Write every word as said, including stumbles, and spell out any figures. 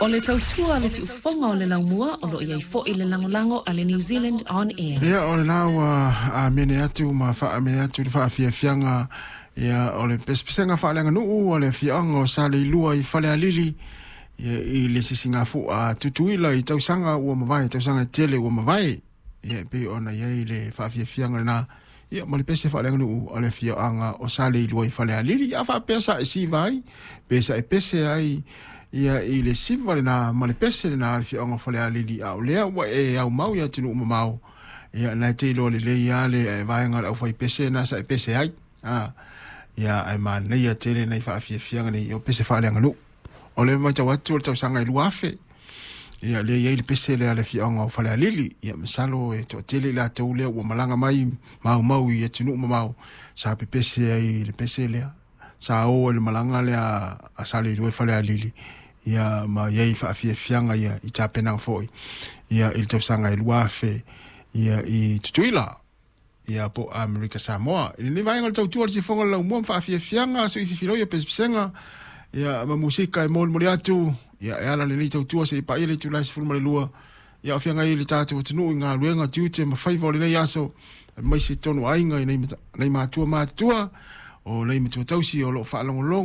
O le tautua le siufofoga o le laumua o loo iai foi le lagolago a le New Zealand On Air. Ia o lena ua amene atu ma faaamene atu le faafiafiaga ia o le pesepesega faaleaganuu o le afioaga o Saleilua i Falealili ia i le sisigafu'a Tutuila i tausaga ua mavae, tausaga tele ua mavae. Ia e pei ona i ai le faafiafiaga lenā ia ma le pese faaleaganuu a le afioaga o Saleilua i Falealili. A faapea sa e siva ai pe sa e pese ai ia i le siva lenā ma le pese lenā a le afioaga o Falealili, a o lea ua e aumau i atunuu mamao, ia na e te iloa lelei lava le vaega o le aufaipese na sa e pese ai. A ia ae manaia tele nai faafiafiaga nei o pese faaleaganuu. O le matau atu o le tausaga e lua afe ia lea i ai le pese lea a le afioaga o Falealili. Ia masalo e toatele i latou lea ua malaga mai maumau i atunuu mamao sa pepese ai i le pese lea sa o ai le malaga lea a Saleilua i Falealili ia ma i ai faafiafiaga ia i tapenaga foi ia i le tausaga e lua afe ia i Tutuila ia po o Amerika Samoa. I lenei vaega o le tautua le sifoga o le laumua ma faafiafiaga sui fifiloi o pesepesega ia ma musika e molimoli atu ia e ala lenei tautua seia paia le itula e sefulu ma le lua ia o feagai ai le tatou atunuu i galuega tiute ma faiva o lenei aso aemaise totonu o aiga i nai matua matutua o nai matua tausi o loo faalogologo.